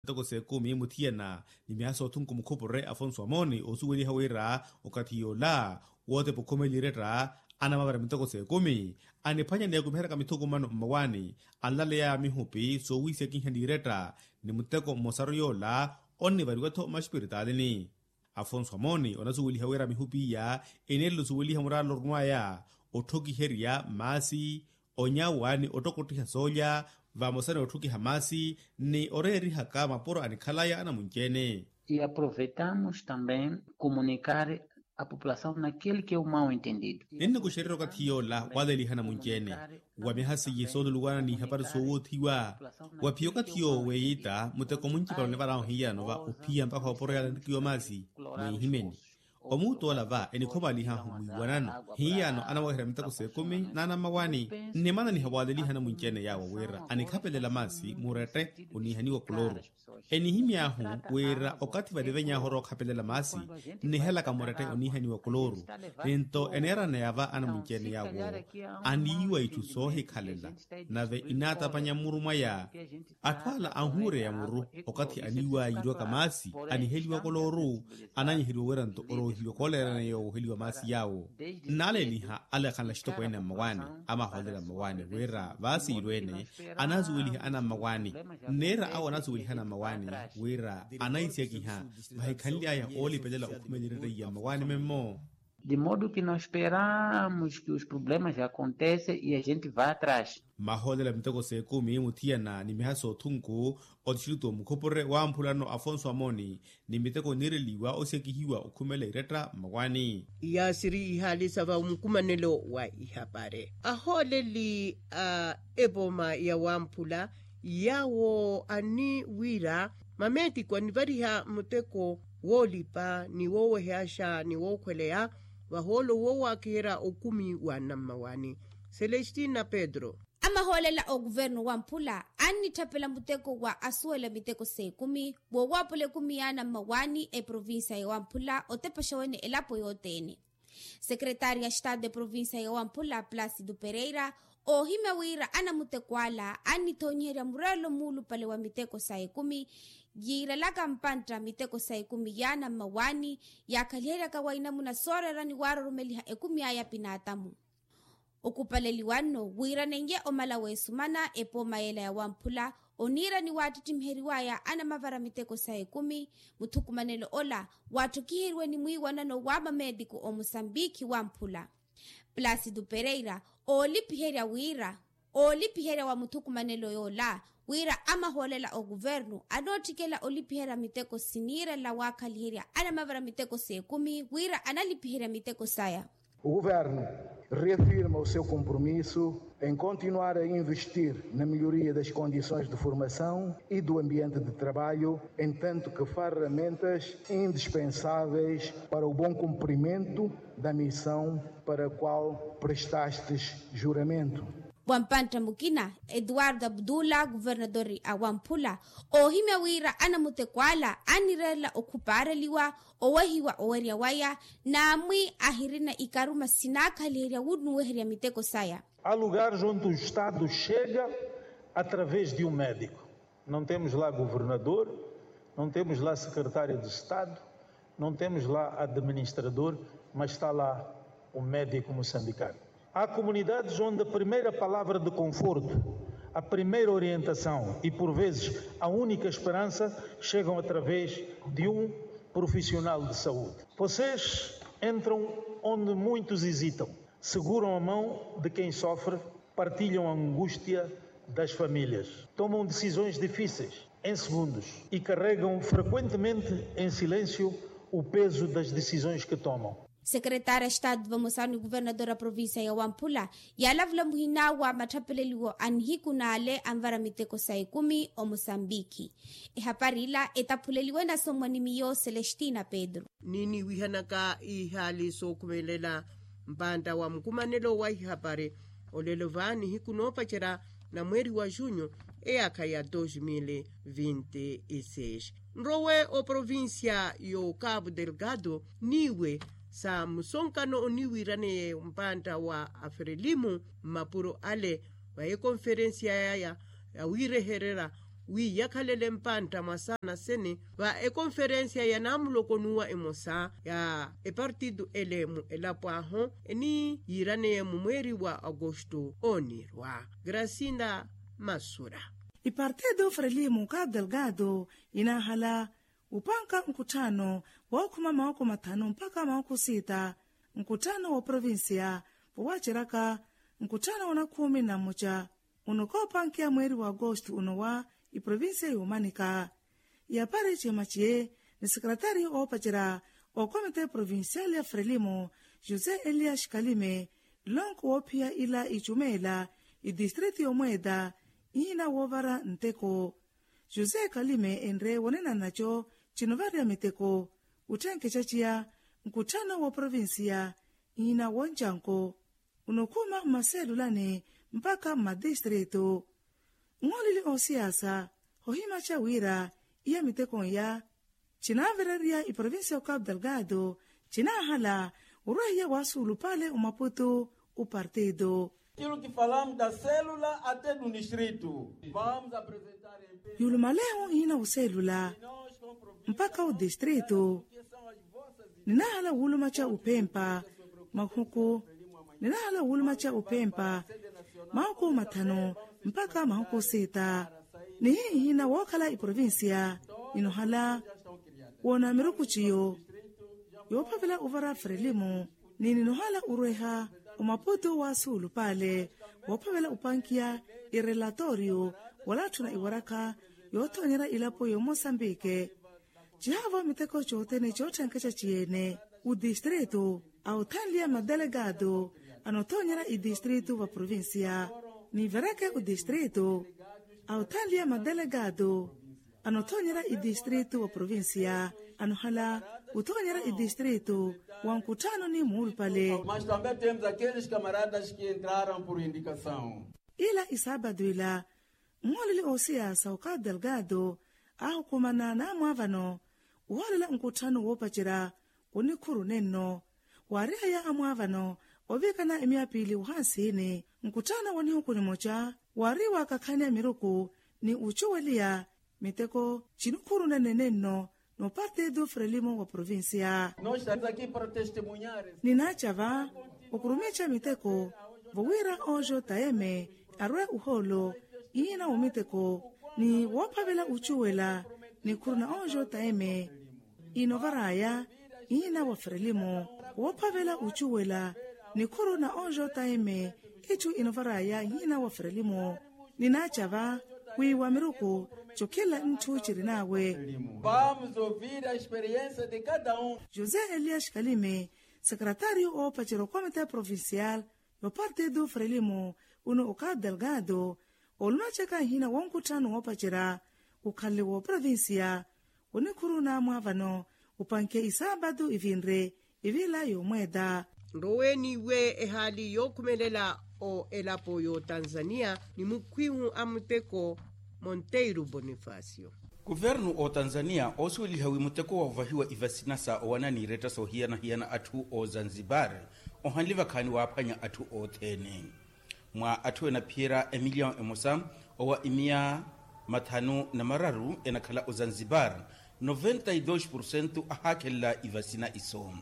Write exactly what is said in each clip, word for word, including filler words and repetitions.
miteko s'ekumi muthiyana ni miha soothunku mukhupure afonso amoni osuweliha wira okathi yoola wootepa okhumela iretta anamavara miteko s'ekumi aniphwanya ni akumiheraka mithukumano mmawaani anlaleyaya mihupi soowiisekiha n'iretta ni muteko mmosaru yoola onnivariwa-tho mmaxipiritalini. Afonso amoni onasuweliha wira mihupi iya eneerela osuweliha muraala orunw'aya otthokiherya maasi onyawa ni ottokottiha soolya vamosa ni otthokiha maasi ni oreerihaka mapuro anikhalaya anamunci-ene. E aproveitamos também comunicar a população naquele que é o mau entendido. Ninnikuxererya okathi yoola waleliha anamunci-ene wa miha seiye sooluluwana n'ihapari soowoothiwa wa phiya okathi yoowo weeyitta muteko muncipano onivarahu hiyano va ophiya mpakha opuro yala nrikiwa maasi. Mwiihimeni omuutt'ola va enikhomalihahu mwiiwanano hiyano anaweherya miteko s'ekumi n'anammawaani. Nnimananiha waaleliha anamunci-ene yaawo wira anikhapelela maasi murette oniihaniwa koloru. Enihimy'ahu wira okathi vaniveny'ahu orwa okhapelela maasi nnihelaka murette oniihaniwa koloru. Ninto eneeraneya va anamunci-ene yaawo aniiwa itthu soohikhalela nave inaatapanya mmuru mwaya. Atthu ala anhuureya muru okathi aniiwaya yiirwaka maasi aniheliwa kolooru ananyiheliwa wira nto oroohiwa kooleerana yoowo oheliwa maasi yaawo. Nnaaleliha alekhanla axitokweene a mmawaani amahoolela mmawaani wira vaasiirweene anaasuweliha anammawaani. Nneera awo anaasuweliha anammawaani wira anaisekiha vahikhanly'aya oolipelela okhumela iretta iya mmawaani memmo. De modo que nós esperamos que os problemas acontecem e a gente vá atrás. Mahoolela miteko s'ekumi muthiyana ni miha soothunku otixilutu omukhupure wamphulano afonso amoni ni miteko oniireliwa osekihiwa okhumela iretta mmawaani. Iyaasiri ihaali sa va omukumanelo wa ihapari ahooleli a epooma ya wamphula yaawo ani wira mameetiko anivariha muteko woolipa ni woowehyaxa ni wookhweleya vahoolo woowakiherya okumi wa anammawaani. Celestina pedro. Amahoolela a okuvernu wamphula annitthapela muteko wa asuwela miteko s'ekumi woowaapola ekumi y'anammawaani eprovincia ya wamphula otepexa wene elapo yothene. Sekretaari ya estado eprovincia ya wamphula placido pereira oohimya wira anamuteko ala annithoonyiherya mureerelo muulupale wa miteko sa ekumi yiirelaka mpantta miteko sa ekumi y'anammawaani yaakhaliheryaka wa inamuna sooreerani waaroromeliha ekumi aya pinaatamu. Okupaleliwa nno wiiranenye omala w'esumana epooma yeela ya wamphula oniira ni waattittimiheryiwaya anamavara miteko sa ekumi muthukumanelo ola waatthokiheriwe ni mwiiwanano wa mameetiko omusambikhi wamphula. Placido pereira oolipiherya wira oolipiherya wa muthukumanelo yoola wira amahoolela okuvernu anootthikela olipiherya miteko siniirela waakhaliherya anamavara miteko s'ekumi wira analipiherya miteko saya. O governo reafirma o seu compromisso em continuar a investir na melhoria das condições de formação e do ambiente de trabalho entanto que farramentas indispensáveis para o bom cumprimento da missão para a qual prestastes juramento. Wa mpantta mukina eduardo abdula kuvernadori a wamphula oohimya wira anamuteko ala annireerela okhupaareliwa owehiwa owerya waya n'amwi ahirina ikaruma sinaakhaliherya wunuweherya miteko saya. Há lugares onde o estado chega através de um médico. Não temos lá governador, não temos lá secretário de estado, não temos lá administrador, mas está lá o médico moçambicano. Há comunidades onde a primeira palavra de conforto, a primeira orientação e por vezes a única esperança chegam através de um profissional de saúde. Vocês entram onde muitos hesitam, seguram a mão de quem sofre, partilham a angústia das famílias, tomam decisões difíceis em segundos e carregam frequentemente em silêncio o peso das decisões que tomam. Sekretaari a estado vamosaru ni kuvernador a provincia ya wamphula yaalavula muhina wa matthapeleliwo a nihiku n'ale anvara miteko sa ekumi omosambiki. Ehapari ila etaphuleliwe nasomwa ni miyo celestina pedro. Niniwihanaka ihaali sookhumelela mpantta wa mukumanelo wa ihapari olelo va nihiku noopacerya na mweeri wa junho eyaakha ya dos mil vinte e seis. Nrowe oprovincia yo cabo delgado niiwe sa musonkano oniwiraneye mpantta wa aferelimu mmapuro ale va ekonferensia yaya yawiirehererya wi yakhalele mpantta mwa saana sene va ekonferensiya ya namulokonuwa emosa ya epartitu ele mu elapo ahu eniyiiraneye mumweeri wa agosto ooniirwa. Grasinda masura. Ipartitu frelimo ka abdelgado inaahala upanka nkutthano wookhuma mawoko mathanu mpakha mawoko siita nkutthano wa provinsiya vowaceraka nkutthano wa nakhuumi na mmoca uno koopankiya mweeri wa agosto uno wa iprovinsiya yoomanika. Yapari cihema ciye ni sekeretariyo oopacerya okomite provinsiyali ya frelimo josé elias kalime nlonko woophiya ila icumeela itistriti yomweeta ihiina woovara nteko. José kalime enre wonenanaco cinovarya miteko utthenkecaciya nkutthano wa provinsiya ihiina woncanko unokhuma mmaselulani mpakha mmatistrito. Nhooleli oosiyaasa hohimaca wira iya miteko iya cinaavererya iprovinsiya okapu delgado cinaahala orwahiya waasuulupale omaputu opartido. Kilo kifalamu da selula ate du nistrito. Yuulumalehu ihiina oselula mpakha otistrito. Ninaahala wuulumaca ophempa mahuku ninaahala wuulumaca ophempa mahuku mathanu mpakha mahuku siita. Nihihiina wookhala iprovinsiya ninohala woona miruku ciyo yoophavela ovara frelimo ni ninohala orweha omaputu wa suulupale woophavela opankiya irelatorio wala atthuna iwarakha yoothoonyerya ilapo y'omosambike. Cihaavo miteko cothene cootthenkeca ciyeene otistrito a othanliya madelegado anothonyerya itistrito va provincia. Nivereke otistrito a othanliya madelegado anothonyerya itistrito va provincia anohala othonyerya itistrito wa nkutthano ni muulupale. Mas também temos aqueles camaradas que entraram por indicação. Ila isaapatu ila mmooleli oosiyasa okapu delgado aahukumana naamwaavano ohoolela nkutthano woopacerya onikhuru nenno. Waarihaya amwaavano ovikana emiya piili ohansini nkutthano wa nihuku nimoca waari waakakhanya miruku ni ocuweliya miteko cinikhuru nene nenno n'opartido frelimo wa provincia. Ninaacava okurumica miteko vowira ojo taeme arwe uhoolo iina womiteko ni woophavela ocuwela nikhuru na ojo taeme inovaraya iina wa frelimo woophavela ocuwela nikhuru na ojo taeme itthu inovaraya iina wa frelimo. Ninaacava wi wa miruku cokhelela ntthu cirinaawe. José elias kalime sekretario oopacerya okomite provincial y'opartido frelimo uno okapu delgado olumacaka ihiina wonkutthano woopacerya okhalele w'oprovincia onikhuru naamwaavano opanke isaapatu ivinre ivila y'omweeta. Nroweeni iwe ehaali yookhumelela o elapo y'otanzania ni mukhwihu a muteko monteiro bonifacio. Kuvernu otanzania oosuweliha wi muteko wa ovahiwa ivasina sa owana n'iretta soohiyana-hiyana atthu o zanzibar ohanle vakhaani waaphwanya atthu othene. Mwa atthu enaphiyerya emilyawu emosa owa imiya mathanu na mararu enakhala ozanzibar noventa e dos porcento ahaakhelela ivasina iso.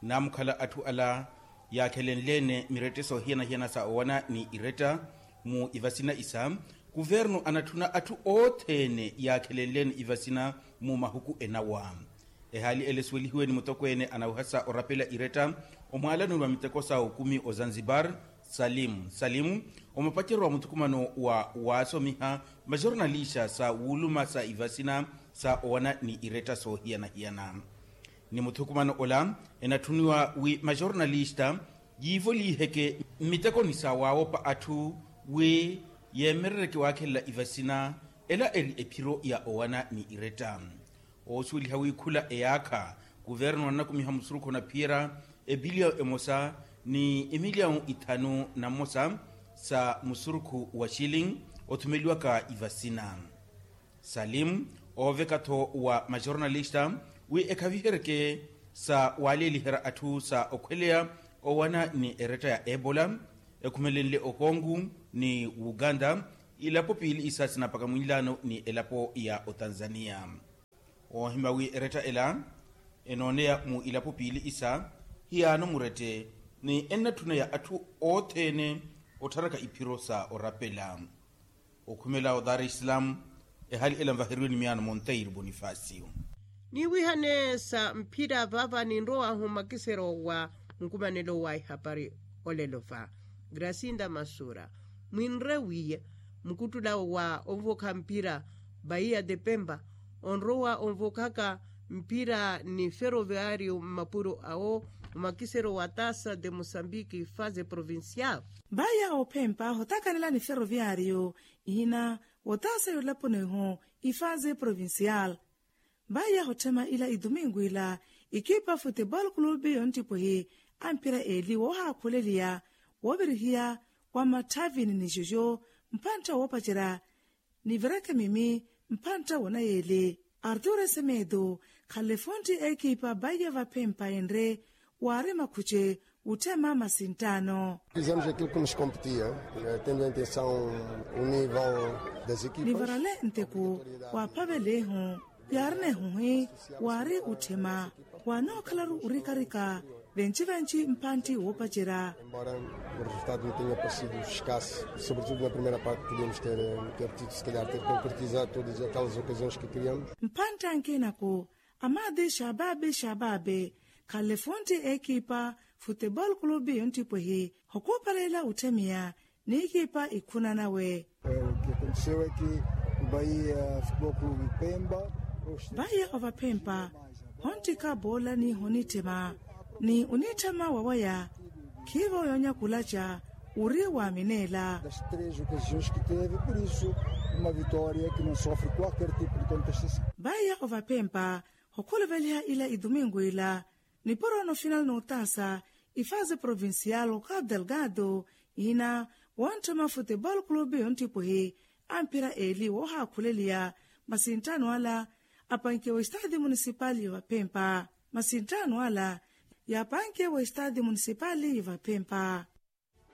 Naamukhala atthu ala yaakhelenle-ene mirette soohiyana-hiyana sa owana ni iretta mu ivasina isa kuvernu anatthuna atthu othene yaakhelenle-ene ivasina mu mahuku enawa. Ehaali ele esuwelihiwe ni mutokweene anawehasa orapela iretta omwaalanoni wa miteko sa okumi ozanzibar salim salim omapacerya wa muthukumano wa waasomiha majornalista sa wuuluma sa ivasina sa owana ni iretta soohiyana-hiyana. Ni muthukumano ola enatthuniwa wi majornalista yiivoliiheke mmitekoni sa waawopa atthu wi yeemerereke waakhelela ivasina ela eri ephiro ya owana ni iretta. Oosuweliha wi khula eyaakha kuvernu annakumiha musurukhu onaphiyerya epiliyawu emosa ni emiliyawu ithanu na mmosa sa musurukhu wa shilling othumeliwaka ivasina. Salim ooveka-tho wa majornalista wi ekhaviheryeke sa waaleeliherya atthu sa okhweleya owana ni eretta ya ebola ekhumelenle okongu ni uganda Ilapo piili isa sinapaka mwinlaano ni elapo ya otanzania. Woohima wi eretta ela enooneya mu ilapo piili isa hiyaano murette, ni ennatthuneya atthu othene ottharaka iphiro sa orapela. Okhumela o dar es salaam, ehali ela nvaheriwe ni miyaano monteiro bonifacio. Niwihane sa mphira vava ninrowahu makisero wa nkumanelo wa ihapari olelo va gracinda masura, mwinre wi mukuttula wa onvokha mphira baia de pempa onrowa onvokhaka mphira ni feroviario mmapuro awo omakisero wa tasa de mosambiki fase provincial. Baia ophempa hotakanela ni feroviario ihina wotasa yolaponiho ifase provincial. Baia hotthema ila idumingu ila ikipa futebol clube yonttipwehi amphira eli wohakhuleliya wovirihiya wa matthavini ni jojo mphantta wopacerya ni virakemimi mphantta wonayeli. Artur esemedo khanle fontti ekipa baia vaphempa enre waari makhuce wutthema masinttaano. Fizemos aquilo que nos competia, tendo em atenção o nível das equipas. Nivarale nteko waaphavelehu yaari nehuhi waari utthema waanookhalaru orikarika venci-venci mphantti woopacerya. Embora o resultado não tenha parecido escasso, sobretudo na primeira parte podíamos ter ter tido se calhar ter concretizado todas aquelas ocasiões que criamos. Mphantti ankinaku amaadi xababe xababe khanle fontti ekipa futebol clube yonttipwehi hokuupalela utthemiya ni ekipa ikhuna nawe. Baia futebol clube pempa baia ovaphempa honttika boola ni honitthema ni onitthema wawaya khiivo yonyakulaca uri waminela. Das três ocasiões que teve por isso uma vitória que não sofre qualquer tipo de contestação. Baia ovaphempa hokhuluveliha ila idumingu ila nipuro no final nootasa ifase provincial o cabo delgado ihina wontthema futebol clube yonttipwehi amphira eli woohakhuleliya masinttaano ala apankiwa estade municipal yovaphempa. Masinttaano ala yaapankiwa estade municipal yovaphempa.